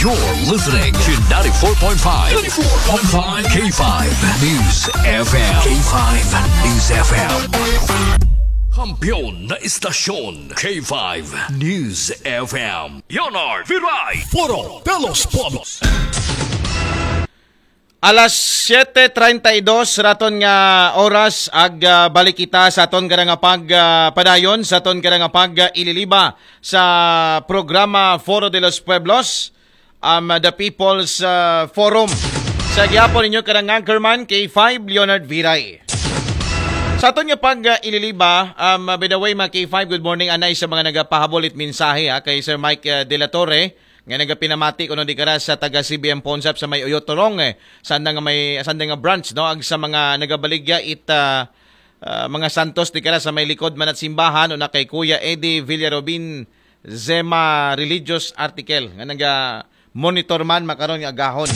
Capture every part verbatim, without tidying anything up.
You're listening to ninety-four point five, ninety-four point five K five News F M. K five News F M. Kampiyon na istasyon, K five News F M. Leonard Viray. Foro de los Pueblos. Alas siete treinta y dos raton nga oras, ag ah, balik kita sa aton kada nga pag ah, padayon, sa aton kada nga pag ah, ililiba sa programa Foro de los Pueblos, um, the People's ah, Forum. Sa gihapon ninyo kada nga anchorman, K five Leonard Viray. Sa aton nga pag ah, ililiba, um, by the way, mga K five, good morning, anay sa mga nagapahabol it mensahe ha, kay Sir Mike ah, De La Torre, nga nagapinamati kuno di kara sa taga C B M Pawn Shop sa may Oyotorong, eh, sa andang nga may sa andang nga branch, no, ag sa mga nagabaligya it ah, ah, mga santos di kara sa may likod man at simbahan, una kay Kuya Eddie Villarobin Zema Religious Article nga naga monitor man makaron nga agahon.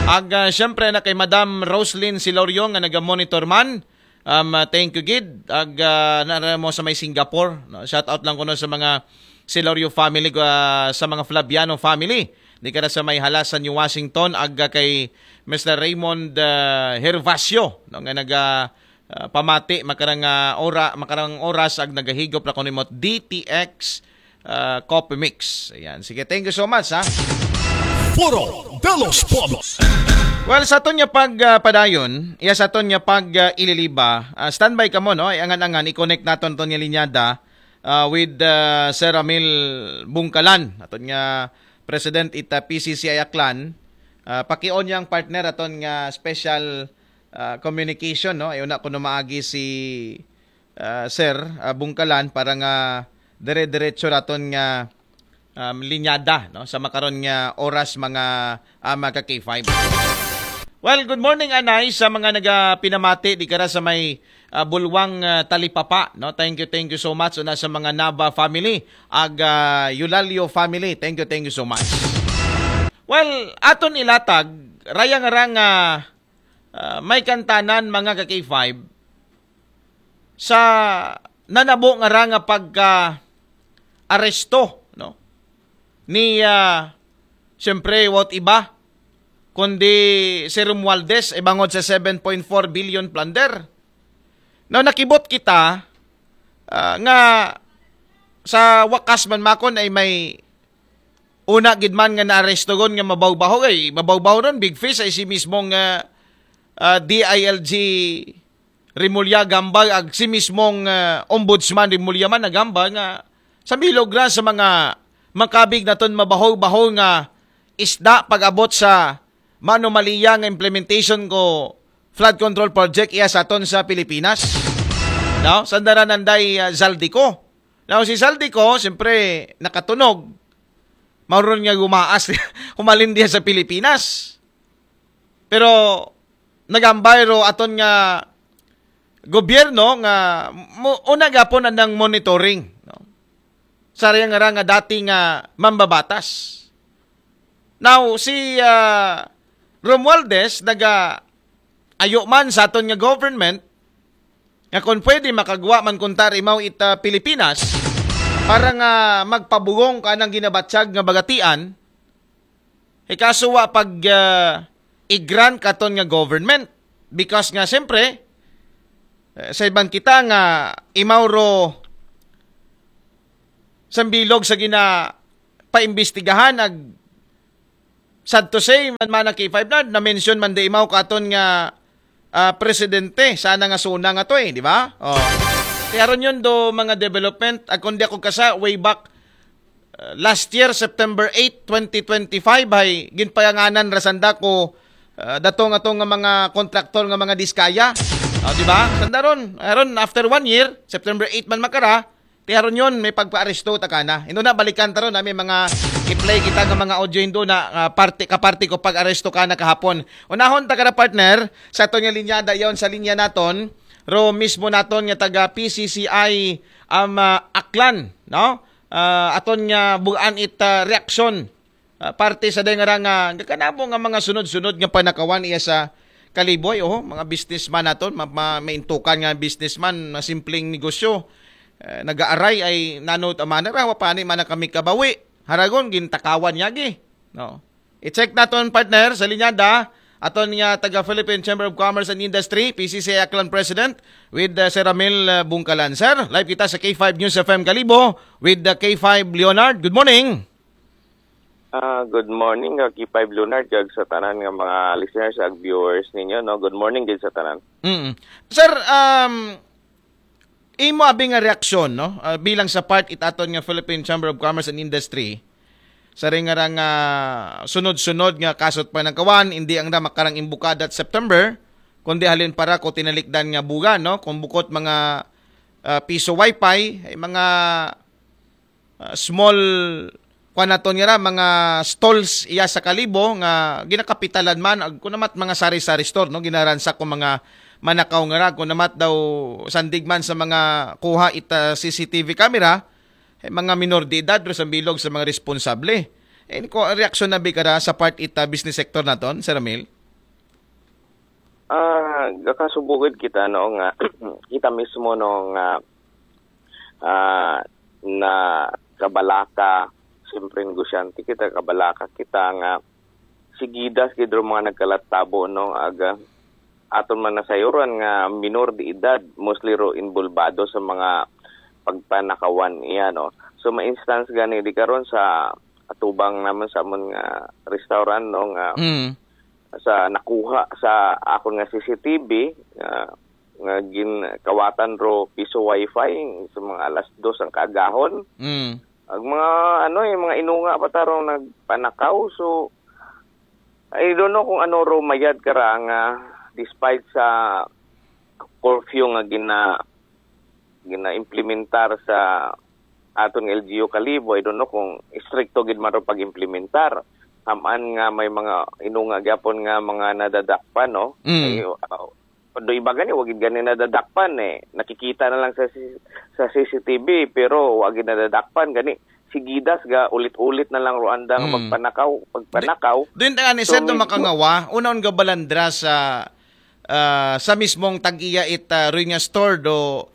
Ag ah, syempre na kay Madam Roslyn Silorio nga naga monitor man. Um, ah, thank you gid. Ag ah, nara mo sa may Singapore, no? Shout out lang kuno sa mga Silorio family, ah, sa mga Flaviano family. Di kara sa may Halasan, New Washington, ag ah, kay Mister Raymond ah, Hervacio, no, nga naga ah, pamati makarang ah, ora makarang oras ag nagahigop ra kuno mo D T X ah, Coffee Mix. Ayan. Sige, thank you so much ha. Foro de los Pueblos. Well, sa aton nga pag ah, padayon, iya sa aton nga pag ah, ililiba, ah, standby kamo, no? Ay angan-angan i-connect naton to nga linyada ah, with ah, Sir Ramil Bungkalan, aton nga President ita P C C I Aklan. Ah, pakion yang partner aton nga special ah, communication, no? Ay una kuno maagi si ah, Sir ah, Bungkalan para nga dire-diretso raton nga um, linyada, no, sa makaron nga oras, mga ah, mga K five. Well, good morning anay sa mga nagapinamati di kara sa may ah, Bulwang ah, Talipapa, no. Thank you, thank you so much una sa mga Nava family, ag ah, Eulalio family. Thank you, thank you so much. Well, aton ilatag raya nga ra nga ah, may kantanan, mga ka K five, sa nanabo nga ra nga pagka aresto, no, ni ah, siyempre, what iba kundi si Romualdez, ibangod sa seven point four billion plunder. Now, nakibot kita ah, nga sa wakas man makon ay may una gid man nga naaresto gon nga mabaw-baho, ay mabaw-baho ron, big fish, ay si mismong ah, ah, D I L G Remulla gamba, ag si mismong ah, Ombudsman Remulla man nagamba nga sa milogra sa mga makabig naton mabaho-baho nga isda pag-abot sa manomaliya nga implementation ko flood control project iya sa aton sa Pilipinas. No? Sandaran nanday ah, Zaldico. Now, si Zaldico, siyempre, nakatunog. Mauron nga gumaas, humalin diya sa Pilipinas. Pero, nagambay ro aton nga gobyerno nga mo, una gapon anang monitoring, no? Sa riyang nga dati nga mambabatas. Now, si ah, Romualdez naga ayo man sa aton nga government nga kung pwede makagwa man kunta rimaw ita Pilipinas para nga magpabugong kanang ginabatyag nga bagatian, eh, kaso wa pag ah, i-grant katon nga government because nga siyempre eh, sa iban kita nga imaw ro sambilog sa gina paimbestigahan ag sad to say man man ang K five na na-mention man di imaw katon nga ah, presidente sana nga suna nga to eh, di ba? Oh. Kaya ron yun do mga development, ag kundi ako kasa way back uh, last year, September eight, twenty twenty-five, ay ginpayanganan rasanda ko uh, datong atong nga mga kontraktor nga mga diskaya. Oh, di ba? Sandaron, aron after one year, September eight man makara, ti haron yon may pagpaaresto ta kana. Indo na balikan ta ron, ah, may mga i-play kita nga mga audio indo na ah, parte kaparte ko pag-aresto kana kahapon. Unahon ta kada partner sa aton nga linya dayon sa linya naton. Ro mismo naton nga taga P C C I um, ah, Aklan, no? Ah, aton nga bugaan it ah, reaksyon ah, parte sa day nga ra nga gakanabo nga mga sunod-sunod nga panakawan iya sa Kaliboy, oh, mga businessman naton, ma, ma, maintukan nga businessman, na simpleng negosyo. Eh, nagaaray ay nano ta man rawa pa ni man kami kabawi. Haragon gintakawan niya gi. No. I-check naton, partner, sa linyada aton nga taga Philippine Chamber of Commerce and Industry, P C C I Aklan President, with uh, Sir Ramil uh, Bungkalan. Sir, live kita sa K five News F M Kalibo with the K five Leonard. Good morning. Ah, good morning, uh, K five Leonard, kag sa tanan nga mga listeners ag viewers ninyo, no. Good morning din sa tanan. Mm. Sir, um, imo abi nga reaksyon, no? Ah, bilang sa part it aton nga Philippine Chamber of Commerce and Industry, sa ring nga ah, sunod-sunod nga kasot pa nagkawan, hindi ang na makarang imbukada at September, kundi halin para ko tinalikdan nga buga, no? Kung bukot mga ah, piso wifi, ay mga ah, small kuan naton nga ra, mga stalls iya sa Kalibo nga ginakapitalan man ag kunamat mga sari-sari store, no, ginaransak ko mga manakaw nga ra kunamat daw sandig man sa mga kuha ita C C T V camera, eh, mga minor de edad ro sa bilog sa mga responsable. Eh, ko reaksyon na bi kara sa part ita business sector naton, Sir Ramil? Ah, gakasubukid kita, no, nga kita mismo, no, nga ah, na kabalaka, siyempre negosyante kita, kabalaka kita nga sigidas gid ro mga nagkalatabo, no, aga aton man nasayuran nga minor de edad, mostly ro involbado sa mga pagpanakawan iya, no. So ma-instance gani di karon sa atubang naman sa amon nga restaurant, no, nga Mm. sa nakuha sa akon nga C C T V nga, nga gin kawatan ro piso wifi sa mga alas dos ang kaagahon. Mm. Ang mga ano eh, mga inunga pa tarong nagpanakaw. So I don't know kung ano ro mayad kara nga despite sa curfew nga gina gina-implementar sa aton nga L G U Kalibo, I don't know kung istrikto gid man ro pag-implementar. Haman nga may mga inunga gyapon nga mga nadadakpan, no? Mm. Ay, uh, do iba gani, wagid gani nadadakpan eh. Nakikita na lang sa si- sa C C T V pero wagid nadadakpan gani. Sigidas ga ulit-ulit na lang ro andang Mm. magpanakaw, pagpanakaw. Doon nga ni So, Sir, do medyo- makangawa, una on gabalandra sa ah, sa mismong tag-iya it ah, Ruin nga store do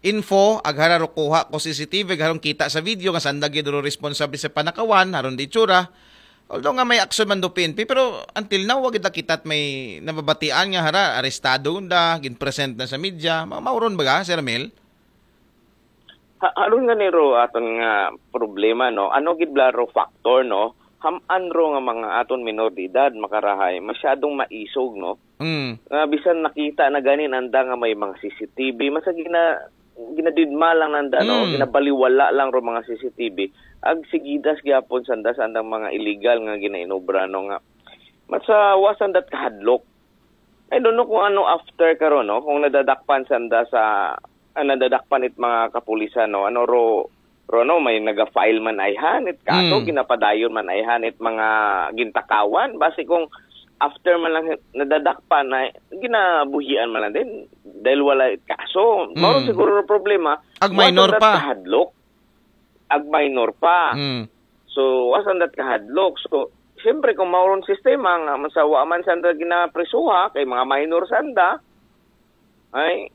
info, aghara ro kuha ko C C T V, agharong kita sa video nga sanda gid ro responsable sa panakawan, haron di itsura. Although nga may aksyon man do P N P, pero until now, wagid na kita't may nababatian nga hara, arestado da, gin-present na sa media. Ma- mauron ba ga, Sir Mel? Ha, aron nga ni ro aton nga problema, no? Ano gid bala ro factor, no? Haman ro nga mga aton minor de edad makarahay, masyadong maisog, no? Mm. Nga bisan nakita na ganin anda nga may mga C C T V, masa gina ginadidma lang nanda, no? Mm. Ginabaliwala lang ro mga C C T V. Ag sigidas gyapon sanda sa andang mga illegal nga ginainobra, no, nga masawa sanda't kahadlok. I don't know kung ano after karon, no? Kung nadadakpan sanda sa ah, nadadakpan it mga kapulisan, no? Ano ro ro, no, may naga-file man ayhan it kaso, Mm. ginapadayon man ayhan it mga gintakawan. Basi kung after man lang nadadakpan na ginabuhian man lang din dahil wala it kaso. Mao Mm. siguro ro problema. Ag minor Wa sanda't pa. Kahadlok. Ag minor pa. Mm. So, wa sanda't kahadlok. So, siyempre kung mao ron sistema nga masawa man sanda ginaprisuha kay mga minor sanda, ay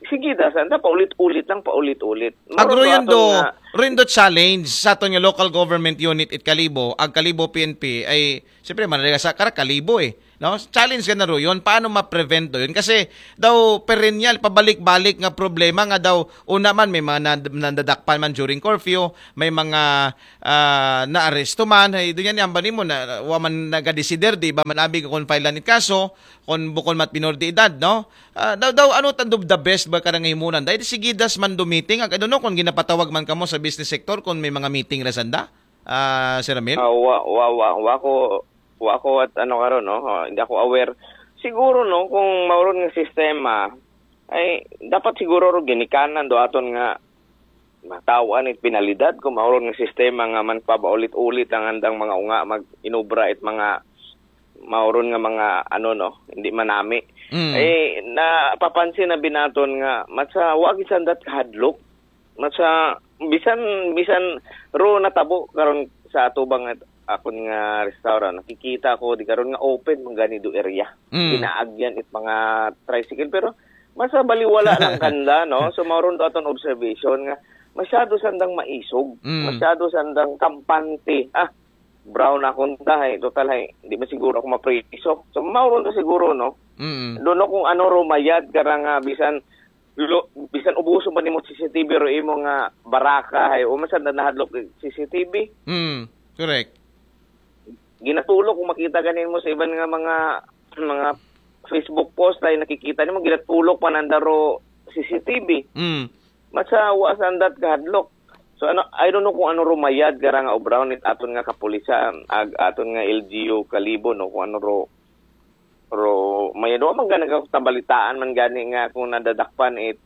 sigidas sanda paulit-ulit lang, paulit-ulit. Mao ro Agro yun aton do, nga rin do challenge sa aton nga local government unit it Kalibo, ag Kalibo P N P ay siyempre manalaga sa kara Kalibo eh. No? Challenge ka na ro yun. Paano ma-prevent do yun? Kasi daw perennial, pabalik-balik nga problema nga daw una man may mga nad- nadadakpan man during curfew, may mga ah, naaresto man, ay doon yan yamban nimo na wa man nagadesider, di ba man abi kung file it kaso, kung bukon mat minor de edad, no? Ah, daw, daw, ano tan do the best ba karang himunan? Dahil sigidas man do meeting, ag, I don't know kung ginapatawag man kamo sa business sector kung may mga meeting ra sanda, ah, Sir Ramil? Ah, wa, wa, wa, wa ko, wa ko at ano karon, no? Ah, hindi ako aware. Siguro, no, kung mao ron nga sistema, ay dapat siguro ro ginikanan do aton nga matawan it penalidad kung mao ron nga sistema nga man pabaulit-ulit ang andang mga unga mag-inobra it mga mao ron nga mga ano, no, hindi manami. Mm. Eh, napapansin na bi naton nga masa wa gid sanda't kahadlok. Masa bisan bisan ro natabo karon sa atubang nga akon nga restaurant, nakikita ko di karon nga open man gani do area. Mm. Ginaagyan it mga tricycle pero masa baliwala lang kanda, no? So mao ron do aton observation nga masyado sandang maisog, Mm. masyado sandang kampante. Ah, brown ako nda, hay, total, hay, di man siguro ako mapriso. So, mao ron to siguro, no? Mm. Don't know kung ano ro mayad kara nga bisan lo, bisan ubuso man nimo C C T V ro imo nga baraka, hay, o man sad na nahadlok C C T V. Mm. Correct. Ginatulok kung makita ganin mo sa iban nga mga mga Facebook post ay nakikita nimo ginatulok pa nanda ro C C T V. Mm. Matsa wa sa andat kahadlok. So ano, I don't know kung ano rumayad kara nga obra nit aton nga kapulisan, ag aton nga L G U Kalibo, no, kung ano ro ro may do man gani ka tabalitaan man gani nga kung nadadakpan it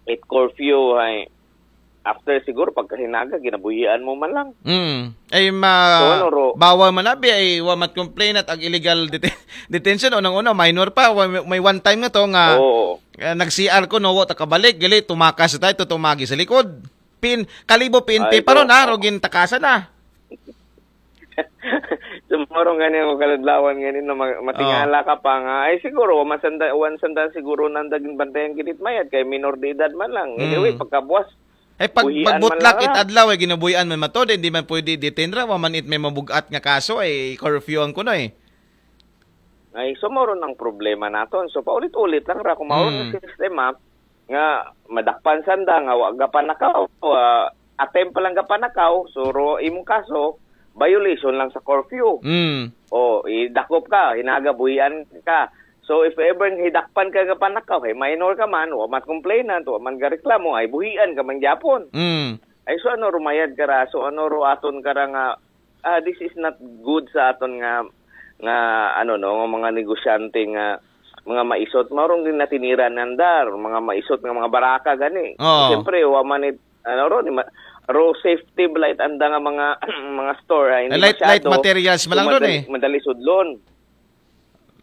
it curfew ay after siguro pagkahinaga ginabuhian mo man lang. Mm. Ay ma So, ano, ro- bawal man abi ay wa mat complainant ag illegal deten- detention, unang-una minor pa, wa- may one time nga to nga Oo. eh, nag-C R ko no, wa ta kabalik, gali tumakas tayo to tumagi sa likod. Pin Kalibo P N P Ay, pa ron oo. Ha, ro gintakasan na. Sumurong gani ako kaladlawan gani na ma- matingala ka pa nga ay siguro wa masanda wan sanda siguro nanda ginbantayan gid it mayad kay minor de edad man lang. Anyway, Mm. pagkabuas Ay pag Buhian man magbutlak lang it ra. Adlaw ay ginabuhian man matod, hindi man pwede detain ra, wa man it may mabugat nga kaso ay curfew ang kuno eh. Ay, so mao ron ang problema naton. So paulit-ulit lang ra kung mao ron Mm. ang sistema nga madakpan sanda nga wa gapanakaw, ah, attempt pa lang gapanakaw, so ro imong kaso violation lang sa curfew. Mm. O, idakop ka, hinaga buhian ka. So if ever hidakpan ka gapanakaw, kay minor ka man, wa man complainant, wa man gareklamo, ay buhian ka man gyapon. Mm. Ay so ano rumayad kara, so ano ro aton kara nga ah, this is not good sa aton nga nga ano no, nga mga negosyante nga mga maisot, mao rong din natiniran nandar, mga maisot nga mga baraka gani. Oo. Siyempre, wa man it, ano ro, ni ma- ro safety blight anda nga mga mga store ay hindi Light- light masyado. materials man So, lang ron madali, eh. madali sudlon.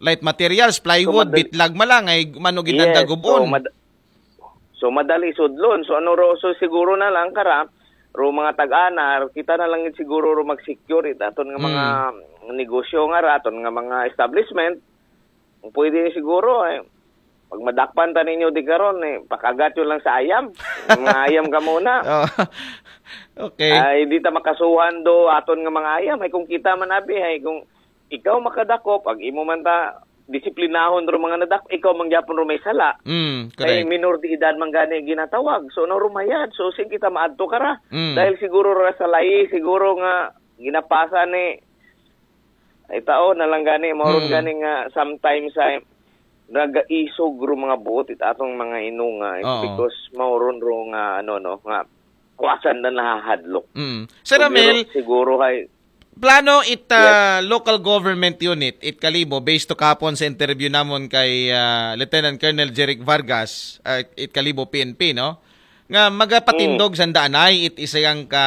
Light materials, plywood, So, madal- bitlag man lang ay mano ginanda Yes, gubon. So, mad- so madali sudlon. So ano ro, so siguro na lang kara ro mga tag-ana, kita na lang gid siguro ro mag-secure it aton nga mga negosyo nga ra, aton nga mga establishment. Kung pwede siguro eh pag madakpan ta ninyo di karon eh pakagat yun lang sa ayam. Mga ayam ka muna. Oh. Okay. Ay di ta makasuhan do aton nga mga ayam ay kung kita man abi ay kung ikaw makadakop ag imo man ta disiplinahon ro mga nadak ikaw man gyapon ro may sala. Mm, Kay correct. minor de edad man gani ginatawag. So no rumayad. So sin kita maadto kara. Mm. Dahil siguro ra sa layi siguro nga ginapasa ni ay tao na lang gani mao ron Mm. gani nga sometimes ay nagaisog ro mga buot it atong mga inunga eh, Oo. because mao ron ro nga ano no nga kuwasan na nahahadlok. Mm. Sir So, Ramil, siguro, siguro ay plano it uh, local government unit, it Kalibo, based to kapon sa interview namon kay uh, Lieutenant Colonel Jeric Vargas, uh, it Kalibo P N P, no? Nga magapatindog sa Anay it isayang ka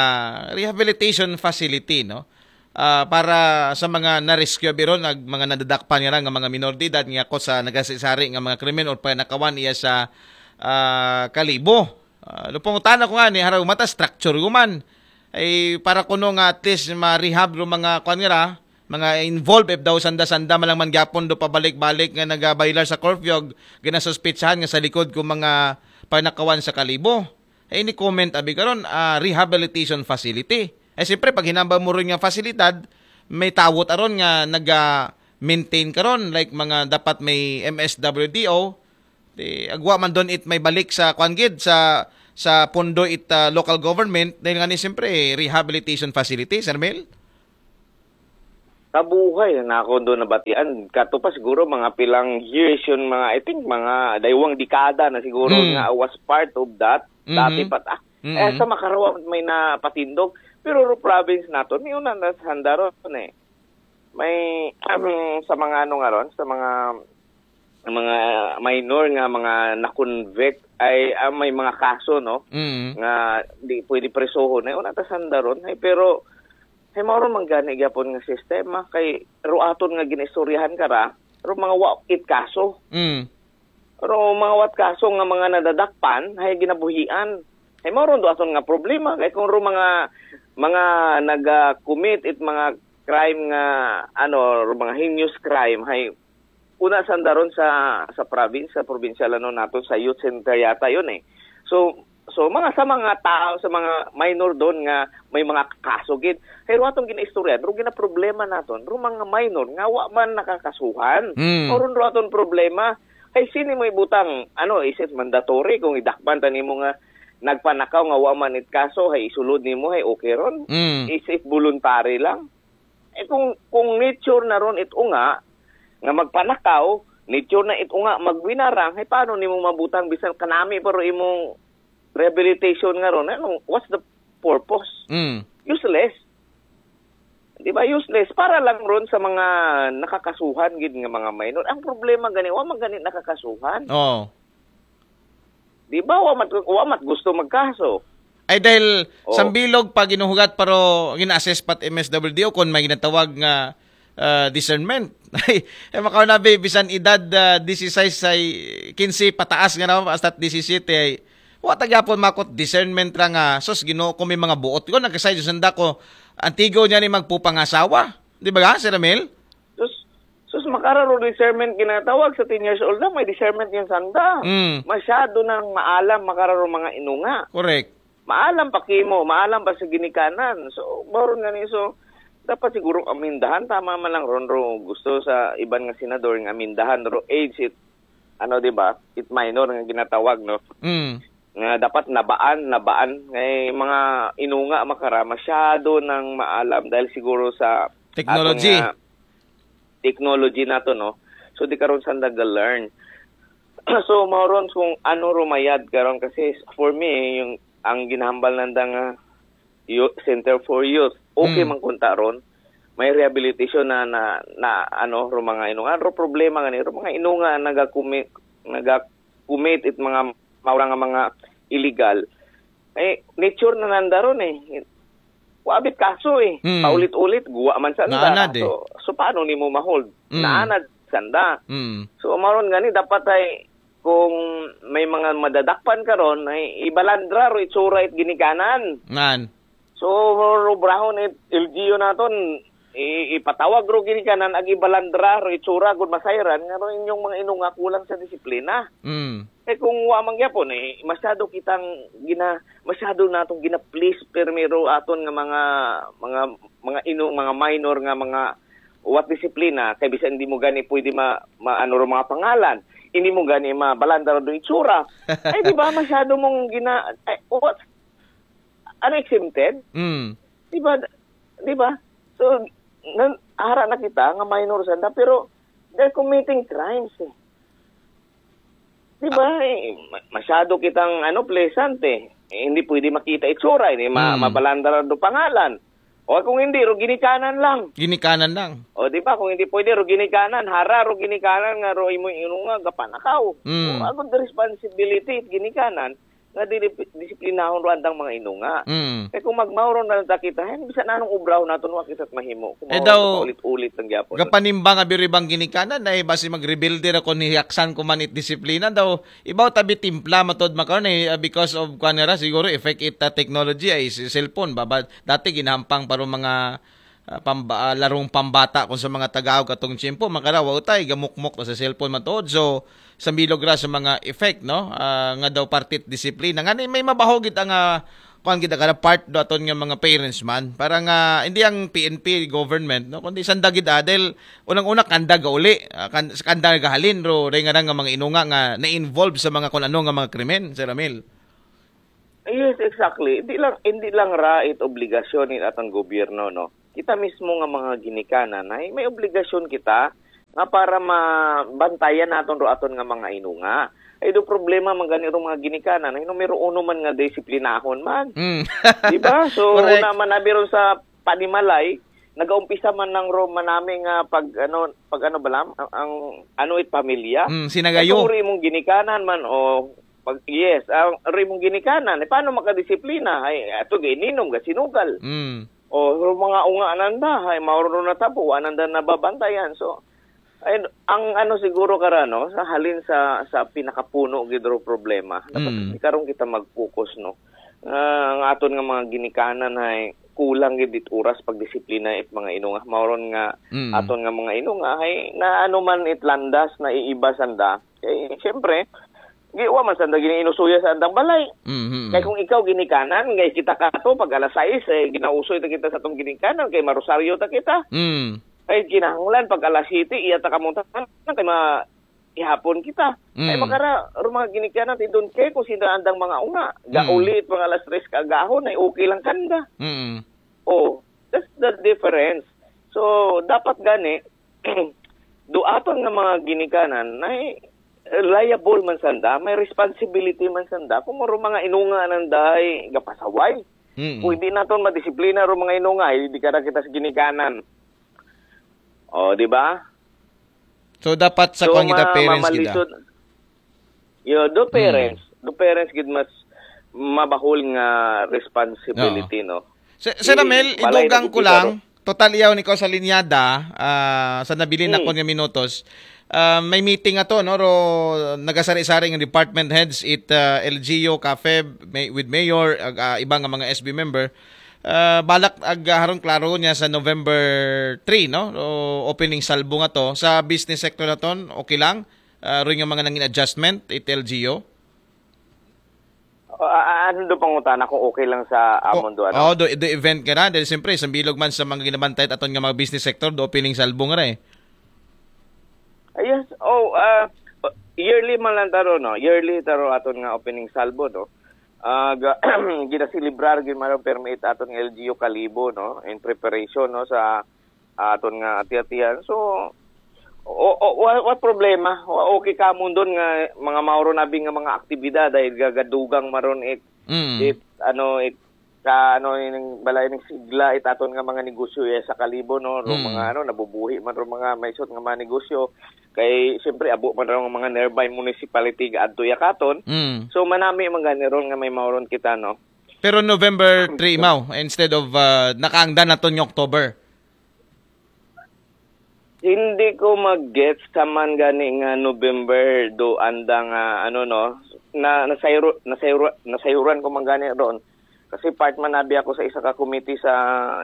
rehabilitation facility, no? Ah, para sa mga na-rescue biron ag mga nadadakpan nga nga mga minor de edad nga ko sa nagasisari nga mga krimen or panakawan iya sa ah, Kalibo. Ah, lupong utana ko nga ni haraw mata structure guman. Ay para kuno nga at least ma-rehab ro mga kwan nga ra, mga involved if daw sanda-sanda malang man gyapon do pabalik-balik nga nagabaylar sa curfew, ginasuspitsahan nga sa likod ko mga panakawan sa Kalibo. Ay ni comment abi karon ah, rehabilitation facility. Ay siyempre pag hinambal mo ron nga fasilidad, may tawot aron nga naga maintain karon like mga dapat may M S W D O, di agwa man don it may balik sa kwan gid sa sa pondo it ah, local government dahil nga ni siyempre rehabilitation facility, Sir Mel. Kabuhay na ako doon nabatian. Kato pa siguro mga pilang years yun, mga, I think, mga daywang dekada na siguro Mm. nga I was part of that. Mhm. Dati pa ta. Mhm. Eh, sa Makarwa may napatindog. Pero ro province nato, may una na sa Handaron eh. May, sa mga ano nga ron, sa mga mga minor nga mga na-convict ay ah, may mga kaso, no? Mm. Nga di pwede presohon. Ay, una ta sa Handaron. Ay, pero ay mao man gani gyapon nga sistema kay ro aton nga ginaistoryahan kara ro mga wa it kaso Mm. ro mga wat kaso nga mga nadadakpan ay ginabuhian ay mao ron do aton nga problema kay kung ro mga mga naga-commit it mga crime nga ano ro mga heinous crime ay una sa Handaron sa sa province sa probinsyal ano nato sa youth center yata yun eh so So, mga sa mga tao, sa mga minor doon nga may mga kaso gid. Kay ro atong ginaistorya, ro ginaproblema naton, ro mga minor nga wa man nakakasuhan. Mm. O ron ro atong problema. Kay sini mo ibutang, ano, is it mandatory kung idakpan ta nimo nga nagpanakaw nga wa man it kaso, hay isulod nimo, hay okay ron? Mm. Is it voluntary lang? Eh, kung, kung nature na ron it unga, nga magpanakaw, nature na it unga, magwinarang, hay paano nimo mabutang bisan kanami pa ro imong rehabilitation nga ron? Ano, what's the purpose? Mm. Useless. Di ba? Useless. Para lang ron sa mga nakakasuhan gid nga mga minor. Ang problema gani, wa man gani nakakasuhan. Oh. Di ba? Wa mat, wa mat gusto magkaso. Ay dahil Oh. Sambilog pa ginuhugat pero gina-assess pat M S W D O kung may ginatawag nga ah, discernment. Ay, eh, makaw na, be, bisan edad ah, disisais ay kinse pataas nga na, hasta disisiyete ay wa ta gyapon makot discernment ra nga, sus, Ginoo ko, may mga buot ko, nagkasay Diyos nanda ko, antigo niya ni magpupangasawa. Di ba, Sir Ramil? Sus, sus, makara ro discernment ginatawag sa ten years old na, may discernment yan sanda. Mm. Masyado nang maalam, makara ro mga inunga. Correct. Maalam pa kimo, maalam pa sa ginikanan. So, mao ron gani, so, dapat siguro amindahan, tama man lang ron ro gusto sa iban nga senador nga amindahan ro age it, ano, di ba? It minor nga ginatawag, no? Mm. Nga dapat nabaan, nabaan. Ngay mga inunga makara, masyado nang maalam dahil siguro sa Technology. aton nga technology nato, no? So, di karon sanda ga-learn. So, mao ron kung ano rumayad karon kasi for me, yung ang ginahambal nanda nga youth, Center for Youth, okay Mm. man kunta ron. May rehabilitation na, na, na ano, ro mga inunga. Ro problema gani, ro mga inunga naga-commit, naga-commit it mga maura nga mga illegal. Eh, nature na nanda ron eh. Wa bit kaso eh. Mm. Paulit-ulit, guwa man sanda. Naanad eh. So, so paano nimo ma-hold? Mm. Naanad sanda. Mm. So, mao ron gani, dapat ay kung may mga madadakpan karon ay ibalandra ro itsura it ginikanan. Nan. So, ro brahon it L G U naton, i- ipatawag ro ginikanan ag ibalandra ro itsura gud masayran nga ro inyong mga inunga kulang sa disiplina. Mm. Eh, kung wa man gyapon, eh, masyado kitang gina masyado natong gina-please primero aton nga mga mga mga inong, mga minor nga mga wat disiplina, kay bisan hindi mo gani pwede ma, ma ano ro mga pangalan, hindi mo gani mabalandra do itsura. Ay, di ba, masyado mong gina ay, what? Ano, exempted? Mm. Di ba? Di ba? So, nan, ara na kita nga minor sanda, pero they're committing crimes eh. Di ba? Eh, ma- masyado kitang, ano, pleasant eh. Eh, hindi pwede makita itsura, hindi ma- Hmm. mabalandra do pangalan. O kung hindi, ro ginikanan lang. Ginikanan lang. O di ba, kung hindi pwede, ro ginikanan, hara ro ginikanan nga ro imo inunga gapanakaw. Mm. O, agud responsibility ginikanan nga dili disiplinahon ro andang mga inunga. Mm. Kay kung magmauro na lang ta kita, hen, bisan anong obrahon naton, wa kita't mahimo. Kung Eh, mauro daw, paulit-ulit lang gyapon. Gapanimbang a biribang ginikanan na eh, basi magrebelde ra kon hiyaksan ko man it disiplina daw. Ibaw tabi timpla matod makaron eh, uh, because of kuan ra siguro effect it uh, technology ay si cellphone. Baba, dati ginahampang pa ro mga uh, pamba, uh, larong pambata kung sa mga Tagalog katong tiyempo, makara wa utay gamukmok ta sa cellphone matuod. So, sa bilog ra sa mga effect, no? Ah, nga daw parte it disiplina. Nga ni may mabaho gid ang ah, kuan gid ang part do aton nga mga parents man. Para nga hindi ang P N P government, no, kundi sanda gid ah, dahil unang-una kanda gauli, ah, kan, kanda gahalin ro ray nga nga mga inunga nga na-involve sa mga kun ano nga mga krimen, Sir Ramil. Yes, exactly. Hindi lang hindi lang ra it obligasyon ni atong gobyerno, no. Kita mismo nga mga ginikanan ay may obligasyon kita nga para mabantayan naton ro aton nga mga inunga. Ay do problema man gani ro mga ginikanan, ay numero uno man nga disiplinahon man. Mm. Di ba? So, Correct. Una man abi ron sa panimalay, nagaumpisa man nang ro manami nga pag ano, pag ano ba lang, ang, ang ano it pamilya. Mm, sinagayo. Ay, kung ri mong ginikanan man o pag yes, ang ri mong ginikanan, eh, paano makadisiplina? Ay, ato gininom ga sinugal. Mm. O ro mga unga nanda, ay mauro na tabo, wa nanda nababantayan. So, ay, ang ano siguro karano, sa halin sa sa pinakapuno gid ro problema, dapat Mm. di karon kita mag-focus, no. Nga ang aton nga mga ginikanan ay kulang gid it oras pagdisiplina it mga inunga. Mao ron nga Mm. aton nga mga inunga ay na ano man it landas na iiba sanda. Kay siyempre, Di, wa man sanda giniinusuya sa andang balay. Mhm. Kay kung ikaw ginikanan, kay kita kato, pag alas sais, eh, ginausoy ta kita sa atong ginikanan, kay marosaryo ta kita. Mm. Kay kinahanglan, pag alas siyete, iya ta kamuntahan, kay ma-, ihapon kita. Kay Mm. makara, ro mga ginikanan, they don't care kung sino andang mga unga. Gauli, mga alas tres ka agahon, ay okay lang kanda. Mm. Oh, that's the difference. So, dapat gani, do aton nga mga ginikanan, ay liable man sanda, may responsibility man sanda, kung ro mga inunga nanday, gapasaway. Mm. Kung hindi naton madisiplina ro mga inunga, hindi ka na kita sa ginikanan. Oh, di ba? So, dapat sa kuwan kita, ma-, parents kita. mamalisod. Yo, do parents, do parents gid mas mabahul nga responsibility, no? Sir, Sir Ramel, Balay idugang na ko gid lang, kita, total iyaw ni ko sa linyada, ah, sa nabilin na ko nga minutos. Ah, may meeting ato, no, ro nagasari-sari nga department heads it ah, L G U, CAFEB, may, with mayor, ag, ah, iba nga mga S B member. Ah, balak ag ah, haron klaro niya sa November three, no? Ro opening salvo nga to sa business sector naton, okay lang? Ah, ro nga mga nangin adjustment it L G U. Ah, ano do pangutana kung okay lang sa amon do, ano? Oh, do, do event ka na. Dahil siyempre, isang bilog man sa mga ginabantay aton nga mga business sector, do opening salvo nga ra eh. Ah, yes. Oh, ah, yearly man lang taro, no? Yearly taro aton nga opening salvo, no? Ah, ga-, ginaselebrar gid man permit aton nga L G U Kalibo, no? In preparation, no, sa aton nga ati-atihan. So, o, o, wa, wa problema. Wa, okay ka mo doon nga mga mauro nabi nga mga aktibidad dahil gagadugang maron it, Mm. it, ano, it, ka, ano, ining balay ning sigla, it aton nga mga negosyo, eh, sa Kalibo, no? Ro Mm. mga, ano, nabubuhi man ro mga maisot nga mga negosyo. Kay, siyempre, abo man ro nga mga nearby municipality gaadto ya katon. Mm. So, manami man gani ron nga may mauron kita, no? Pero November three, mao, instead of uh, nakaangdan naton nga October. Hindi ko mag-gets ka man gani nga November do andang, ah, ano, no, na nasayro, nasayro, nasayuran ko man gani ron. Kasi part man nabi ako sa isa ka committee sa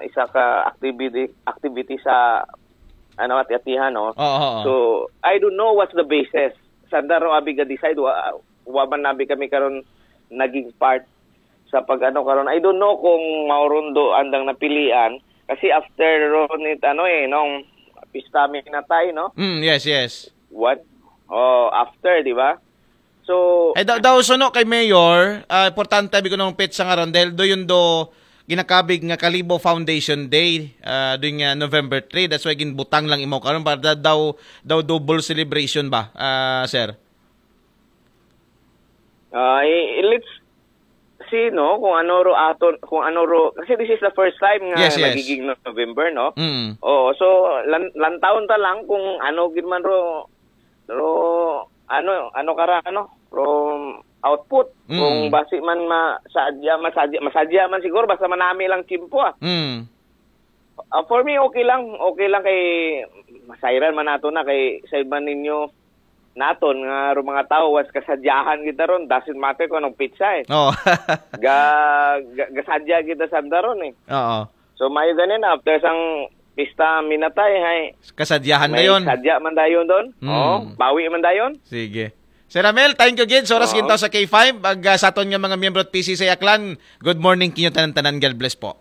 isa ka activity, activity sa, ano, ati-atihan, no? Oo, oo. So, I don't know what's the basis. Sanda ro abi ga decide, wa, wa man nabi kami karon naging part sa pag-ano karon. I don't know kung mauron do andang napilian kasi after ron it, ano, eh, nung pista mi natay, no? Mm, yes, yes. What? Oh, after, di ba? So, Eh, daw, daw suno kay Mayor, ah, importante abi ko nung petsa nga ron dahil do yun do ginakabig nga Kalibo Foundation Day, ah, doon nga November three. That's why ginbutang lang imaw karon para da-, daw, daw double celebration ba, ah, sir? ah, i-, let's see, no, kung ano ro aton, kung ano ro, kasi this is the first time nga Yes, yes. nagiging November, no? Mm. Oo, so, lan-, lantawon ta lang kung ano gid man ro, ro, ano, ano kara, ano, ro output. Mm. Kung basi man masadya, masadya, masadya man siguro, basta manami lang tiyempo, ah. Mm. Ah, for me, okay lang. Okay lang kay masayran man nato na kay sa iba ninyo naton nga ro mga tao was kasadyahan kita ron, doesn't matter kung anong pizza eh. Oh. Ga, ga, gasadya kita sa ron eh. Oo. So mayo ganin after sang pista minatay hay Kasadyahan na may yun. Sadya man dayon doon. Mm. Oh, bawi man dayon. Sige. Sir Ramel, thank you gid. Sa oras Oo. Gintaw sa K five, ag ah, sa aton nga mga miyembro at P C sa Aklan, good morning kinyo tanan-tanan. God bless po.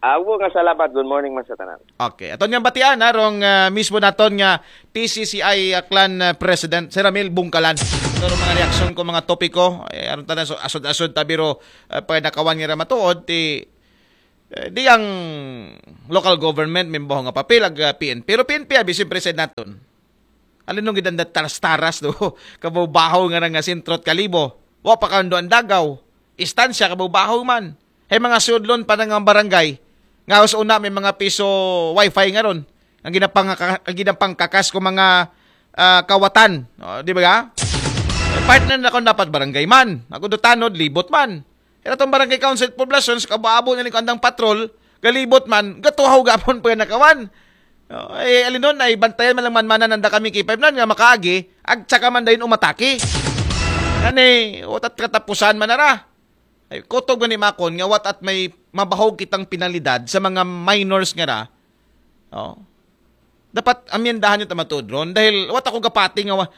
Awo nga salamat. Good morning man sa tanan. Okay. Aton nga batian, ha, rong ah, mismo naton nga P C C I Aklan ah, President, Sir Ramil Bungkalan. Pero mga reaksyon ko, mga topiko, eh, aron tanan so, asod-asod tabiro uh, pag nakawan nga matuod, ti eh, di ang local government may baho nga papel ag ah, P N P. Pero P N P abi siyempre sa naton. Alin nung gidanda taras-taras do? Kabaw-bahaw nga nga sentro at Kalibo. Wa pa kando ang dagaw. Istansya kabaw-bahaw man. Hay mga sudlon pa nga barangay. Nga sa una may mga piso wifi nga ron. Ang ginapang ang ginapang kakas ko mga ah, kawatan. O, di ba? Partner na kung dapat barangay man. Ako do tanod, libot man. Kaya itong barangay council poblasyon sa kabaabo na ni andang patrol, galibot man, gatuhaw gapon pa nakawan. O, eh, alinon ay bantayan man lang man manan nanda kami K five nan nga makaagi, ag tsaka man dayon umatake. Ani, watat katapusan man nara. Ay, kutob gani makon nga watat may mabahog kitang penalidad sa mga minors nga ra. Oh. Dapat amyendahan yung tamatuod ron dahil wat ako gapati nga wa-,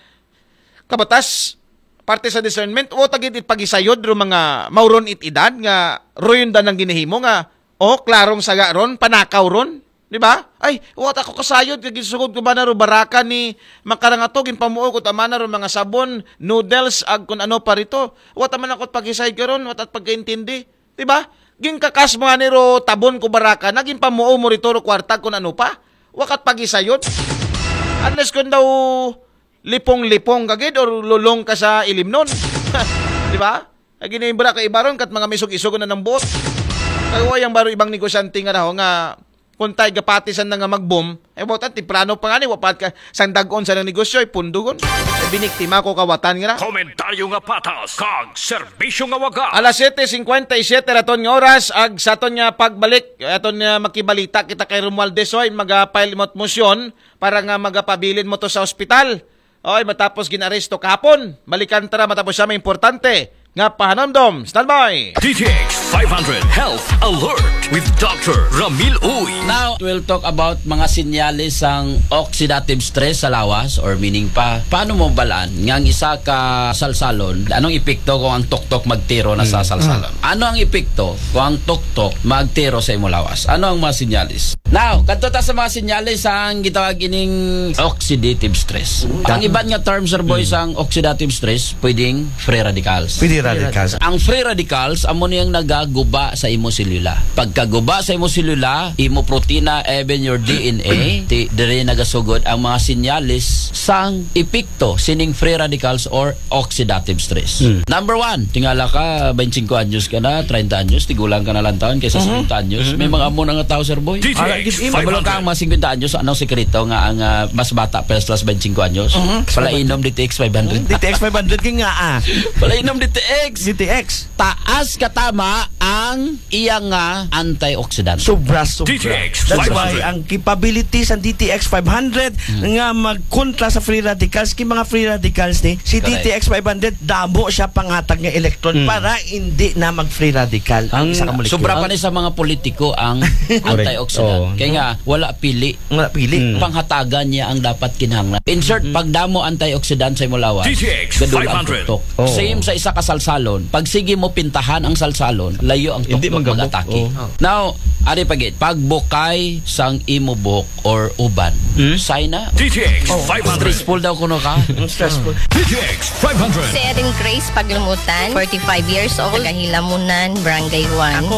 kabatas parte sa discernment, wa ta gid it pagisayod ro mga mauron it edad nga ruyon da nang ginahimo nga, oh, klarong saga ron, panakaw ron. Di ba? Ay, wa ta ko kasayod kay gisugod ko ba na ro baraka ni Makarangato, ginpamuo ko tama na ro mga sabon, noodles, ag kun ano pa rito. Wa ta man ako pagisayod karon, wa ta pagkaintindi. Di ba? Gingkakas mo nga ni ro tabon ko baraka na, ginpamuo mo rito ro kwarta kun ano pa. Wa kat pagisayod. Unless kun daw lipong-lipong ka gid or lulong ka sa ilimnon. Di ba? Ay ginimbra ka ibaron kat mga misog-isog na ng buot. Kay wa yang baro ibang negosyante nga raho nga kung tayo gapatisan na nga mag-boom, eh, buotan, temprano pa nga ni, wapat ka, sang dagon sa nang negosyo, ay pundugon. Ay biniktima ko kawatan nga na. Komentaryo nga patas, kag serbisyo nga waga. Alas siyete singkwenta y siyete raton nga oras, ag sa aton nga pagbalik, aton nga makibalita kita kay Romualdez, oy, magapile mo motion para nga magapabilin mo to sa ospital. Oy, matapos ginaresto kahapon, balikan tara matapos siya may importante nga pahanamdom. Standby! D T X five hundred Health Alert with Doctor Ramil Uy. Now, we'll talk about mga sinyalis sang oxidative stress sa lawas, or meaning pa, paano mo balaan nga ang isa ka salsalon, anong epekto kung ang tuktok magtiro na sa salsalon? Ano ang epekto kung ang tuktok magtiro sa imo lawas? Ano ang mga sinyalis? Now, kadto ta sa mga sinyalis ang gitawag ining oxidative stress. Ang iban nga term, Sir Boy, sang oxidative stress, pwedeng free radicals. Free radicals. Ang free radicals, amo niyang nagaguba sa imo selula. Pagkaguba sa imo selula, imo protina, even your D N A, ti, dire nagasugod ang mga sinyalis sang epekto sining free radicals or oxidative stress. Number one, tingala ka, twenty-five anyos ka na, thirty anyos, tigulang ka na lang taon kaysa fifty anyos. May mga amo na nga tao, Sir Boy. Ala, gid, Kabalo ka ang mga fifty anyos, anong sekreto nga ang ah, mas bata pa sa twenty-five anyos? Palainom D T X five hundred. D T X five hundred kay nga ah. Palainom D T X. D T X. Taas katama ang iya nga antioxidant. Sobra, sobra. D T X That's why five hundred. Ang capability sa D T X five hundred nga magkontra sa free radicals, kay mga free radicals ni, si Correct. D T X five hundred, damo siya pangatag nga electron para hindi na mag-free radical ang, Ang isa ka molecule. Sobra pa ni sa mga politiko ang antioxidant. Oo. Kaya nga, wala pili. Nga pili. Panghatagan niya ang dapat kinahanglan. In short, pagdamo antioxidant sa imo lawas, D T X gadul ang five hundred. tuktok. Oo. Same sa isa ka salsalon. Pag sige mo pintahan ang salsalon, layo ang Hindi tuktok magabok. mag-atake. Oo. Now, ari pa gid, pagbukay sang imo buhok or uban. Sign na. D T X five hundred. Stressful daw kuno ka. Stressful. D T X five hundred. Si Erin Grace Paglumutan, forty-five years old, taga Hilamunan, Barangay one. Ako